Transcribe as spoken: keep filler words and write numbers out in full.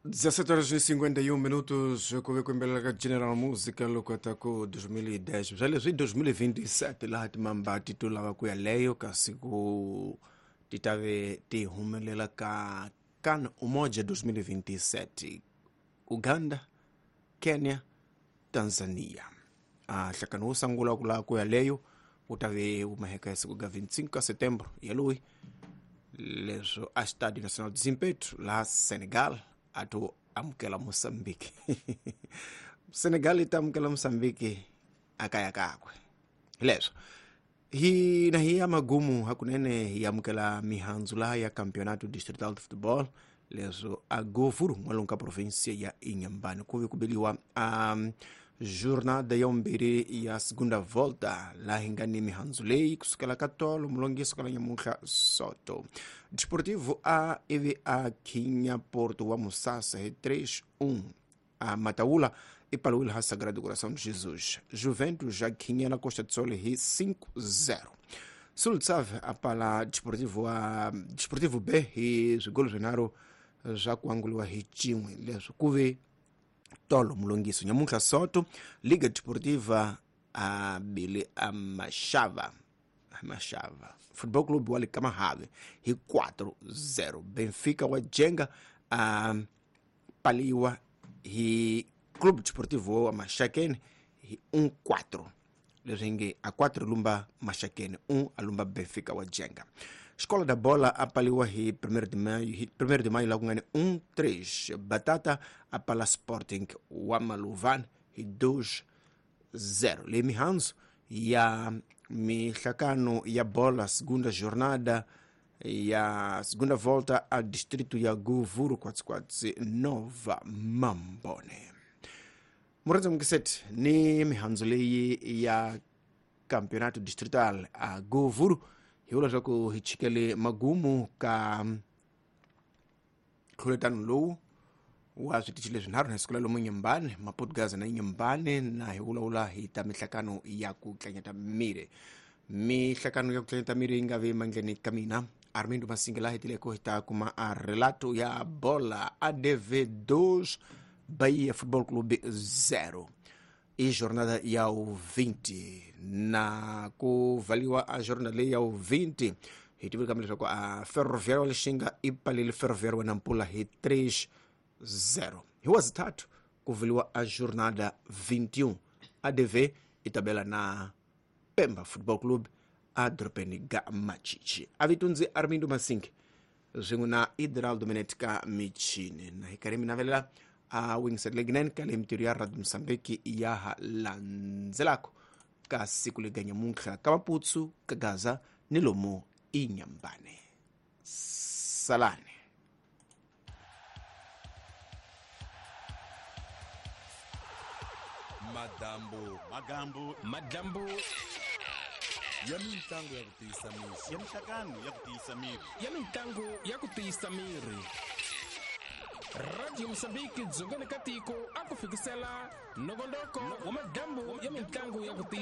dezessete horas e cinquenta e um minutos, ku kuimbelela ka General Música loko ta ku dois mil e dez bya leswi dois mil e vinte e sete laha timamba ti to lava ku ya leyo kasi ku ti ta ve ti humelela ka CAN Umoja dois mil e vinte e sete, Uganda, Kenya, Tanzania. A nhlakano wo sungula ku lava ku ya leyo wu ta ve wu maheka ya siku ga vinte e cinco ka setembro yaloyi leswo a Estádio Nacional de Zimpeto laha Senegal a to amukela Moçambique. Senegal yi ta amukela Moçambique a kaya kakwe. Leswo hi na hi ya magumu hakunene hi amukela mihandzu laha ya Campeonato Distrital de Futebol leswo a Govuro n'walungu ka província ya Inhambane ku ve ku beliwa a um, jornada ya vumbirhi ya segunda volta laha hi nga ni mihandzu leyi kusukela ka tolo mulongiso ka nyamuntlha soto Desportivo A ivi a khinya Porto wa Musasa hi três um. A Mataula i paliwile ha Sagrado Coração de Jesus. Juventus já khinya na Costa do Sol hi cinco zero. Sultsave a pala Desportivo A Desportivo B hi swigolo swinharhu swa ku anguliwa hi cin'we leswi ku ve tolo mulongiso nyamuntlha soto Liga Desportiva a bile a Machava Machava Futebol Clube wa le Kamahave hi quatro zero. Benfica wa Jenga a paliwa hi Clube Desportivo wa Maxakeni hi um quatro. Leswi nge a quatro lumba Maxakeni, um a lumba Benfica wa Jenga. Escola da Bola a paliwa hi primeiro de maio, hi primeiro de maio la ku nga ni um três. Batata a pala Sporting wa Maluvan hi dois zero. Le mihandzu ya mihlakano ya bola segunda jornada ya segunda volta a distrito ya Govuro quatro Nova Mambone. Murandza mukiseti ni mihandzu leyi ya Campeonato Distrital a Govuro hi vula leswaku hi chikele magumu ka nkhuletano lowu wa switichi leswinharhu na siku la lomu Nyambane, Maputo na Nyambane, na hi vulavula hi ta mihlakano ya ku tlanyata miri. Mihlakano ya ku tlanyata miri yi nga vi mandleni ka mina Armindo Masinga laha hetileko hi ta kuma a relato ya bola A D V dois Bahia Futebol Clube zero. I jornada ya u vinte na ku valiwa a jornada leyi ya u vinte hi tivile kambe leswaku a Ferroviário wa Lixinga i palile Ferroviário wa Nampula hi três zero. Hi wa zithathu ku valiwa a jornada vinte e um. A D V i tabela na Pemba Futebol Clube a dorobeni ga Machichi. A vitundzi Armindo Masinga swin'we na Hidraldo Menete ka michini na hi karhi mi navelela a wingiserile ka le mintirho ya Radio Mozambique ya ha landzelako ka siku lega nyamuntlha ka Maputsu ka Gaza ni lomu Inhambane. Salane. Madambo, magambo, madambo ya mintlangu ya ku tiyisa miri, ya mihlakano ya ku tiyisa miri, ya mintlangu ya ku tiyisa miri. Radio Mozambique dzongeni ka tiko a ku fikisela nongonoko wa madambo ya mintlangu ya ku tiyisa